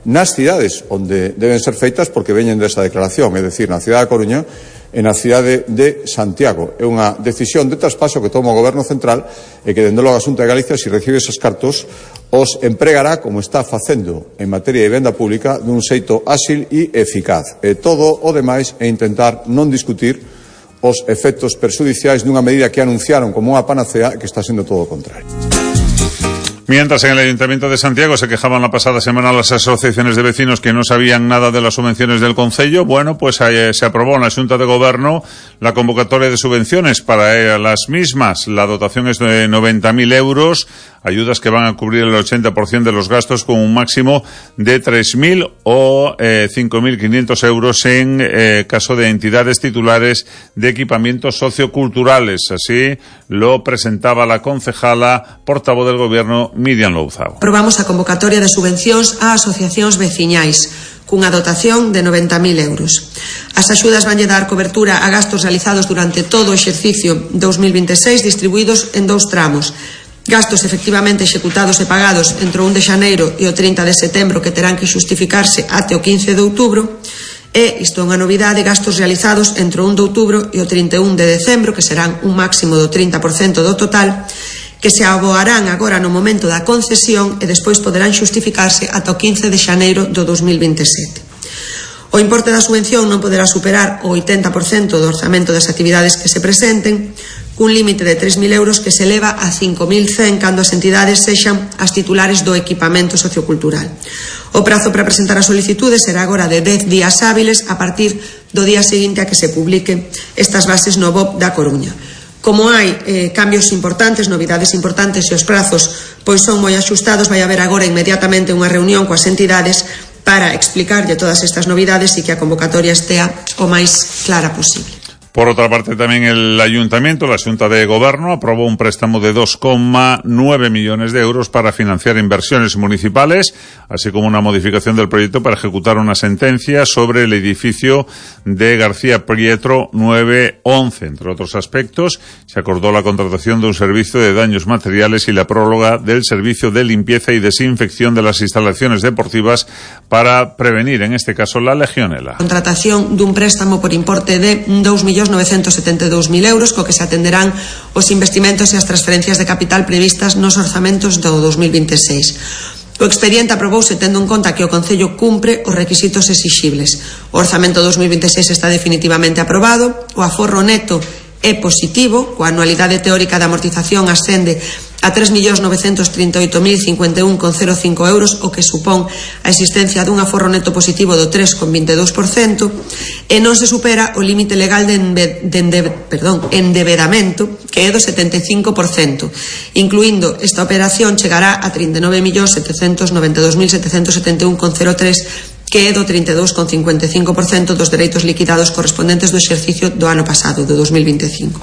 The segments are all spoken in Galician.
nas cidades onde deben ser feitas porque veñen desa declaración, é dicir, na cidade da Coruña e na cidade de Santiago. É unha decisión de traspaso que toma o Goberno Central e que, dende logo, a Xunta de Galicia, se recibe esos cartos, os empregará, como está facendo en materia de vivenda pública, dun xeito áxil e eficaz. E todo o demais é intentar non discutir os efectos perxudiciais dunha medida que anunciaron como unha panacea, que está sendo todo o contrario. Mientras, en el Ayuntamiento de Santiago se quejaban la pasada semana las asociaciones de vecinos que no sabían nada de las subvenciones del concello. Bueno, pues se aprobó en la Xunta de Gobierno la convocatoria de subvenciones para las mismas. La dotación es de 90.000 euros, ayudas que van a cubrir el 80% de los gastos, con un máximo de 3.000 o 5.500 euros en caso de entidades titulares de equipamientos socioculturales. Así lo presentaba la concejala portavoz del Gobierno, Miriam Louzao. Aprobamos a convocatoria de subvencións a asociacións veciñais cunha dotación de 90.000 euros. As axudas vanlle dar cobertura a gastos realizados durante todo o exercicio 2026, distribuídos en 2 tramos. Gastos efectivamente executados e pagados entre o 1 de xaneiro e o 30 de setembro, que terán que xustificarse até o 15 de outubro, e, isto é unha novidade, gastos realizados entre o 1 de outubro e o 31 de decembro, que serán un máximo do 30% do total, que se aboarán agora no momento da concesión e despois poderán xustificarse ata o 15 de xaneiro do 2027. O importe da subvención non poderá superar o 80% do orzamento das actividades que se presenten, cun límite de 3.000 euros que se eleva a 5.100 cando as entidades sexan as titulares do equipamento sociocultural. O prazo para presentar a solicitude será agora de 10 días hábiles a partir do día seguinte a que se publique estas bases no BOP da Coruña. Como hai cambios importantes, novidades importantes e os prazos pois son moi axustados, vai haber agora inmediatamente unha reunión coas entidades para explicarlle todas estas novidades e que a convocatoria estea o máis clara posible. Por otra parte, también el Ayuntamiento, la Xunta de Gobierno, aprobó un préstamo de 2,9 millones de euros para financiar inversiones municipales, así como una modificación del proyecto para ejecutar una sentencia sobre el edificio de García Prieto 911. Entre otros aspectos, se acordó la contratación de un servicio de daños materiales y la prórroga del servicio de limpieza y desinfección de las instalaciones deportivas para prevenir, en este caso, la legionela. Contratación dun préstamo por importe de 2.972.000 euros, co que se atenderán os investimentos e as transferencias de capital previstas nos orzamentos do 2026. O expediente aprobouse tendo en conta que o Concello cumpre os requisitos exixibles. O orzamento 2026 está definitivamente aprobado, o aforro neto é positivo, coa anualidade teórica de amortización ascende a 3.938.051,05 euros, o que supón a existencia dun aforro neto positivo do 3,22%, e non se supera o límite legal de endebedamento, que é do 75%. Incluindo esta operación, chegará a 39.792.771,03, que é do 32,55% dos dereitos liquidados correspondentes do exercicio do ano pasado, do 2025.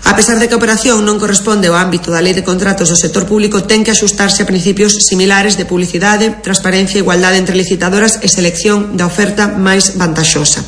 A pesar de que a operación non corresponde ao ámbito da Lei de Contratos do sector público, ten que axustarse a principios similares de publicidade, transparencia, igualdade entre licitadoras e selección da oferta máis vantaxosa.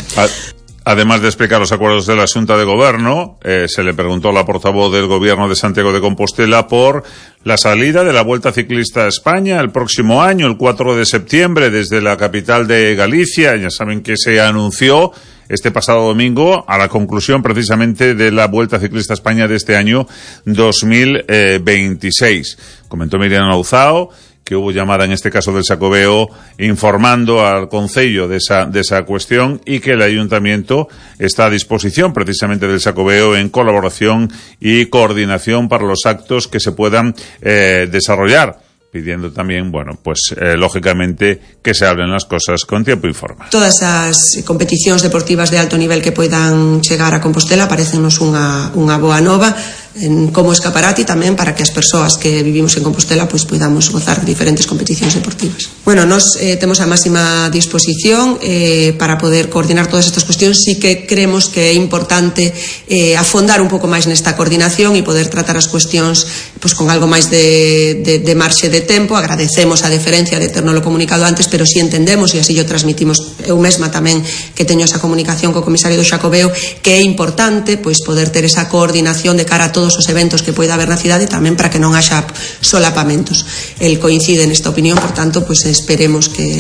Además de explicar los acuerdos de la Xunta de Gobierno, se le preguntó a la portavoz del Gobierno de Santiago de Compostela por la salida de la Vuelta Ciclista a España el próximo año, el 4 de septiembre, desde la capital de Galicia. Ya saben que se anunció este pasado domingo a la conclusión precisamente de la Vuelta Ciclista a España de este año 2026. Comentó Miriam Louzao que hubo llamada, en este caso del Xacobeo, informando al Concello de esa cuestión, y que el Ayuntamiento está a disposición precisamente del Xacobeo en colaboración y coordinación para los actos que se puedan desarrollar, pidiendo también, lógicamente, que se hablen las cosas con tiempo y forma. Todas as competicións deportivas de alto nivel que poidan chegar a Compostela parecennos unha boa nova, como escaparate tamén para que as persoas que vivimos en Compostela pois podamos gozar de diferentes competicións deportivas. Nos temos a máxima disposición para poder coordinar todas estas cuestións. Sí que creemos que é importante afondar un pouco máis nesta coordinación e poder tratar as cuestións pois con algo máis de marxe de tempo. Agradecemos a deferencia de ternolo comunicado antes, pero si entendemos, e así o transmitimos eu mesma tamén, que teño esa comunicación co comisario do Xacobeo, que é importante pois poder ter esa coordinación de cara a todos os eventos que poida haber na cidade, tamén para que non haxa solapamentos. El coincide nesta opinión, por tanto, pois esperemos que